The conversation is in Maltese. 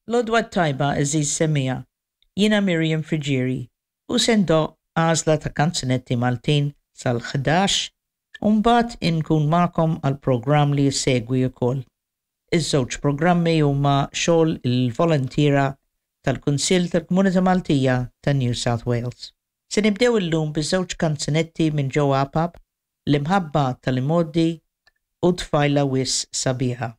L-għodwa t-tajba għeżież semmiegħa, jiena Miriam Friggieri u se ndoqq għażla ta' kanzunetti Maltin sal-11 u mbagħad inkun magħkom għall-programm li jsegwi wkoll. Iż-żewġ programmi huma xogħol il-voluntiera tal-Kunsill tal-Komunità Maltija ta' New South Wales. Se nibdew illum biż-żewġ kanzunetti minn Joe Apap, L-Imħabba tal-Imgħoddi u Tfajla Wisq Sabiħa.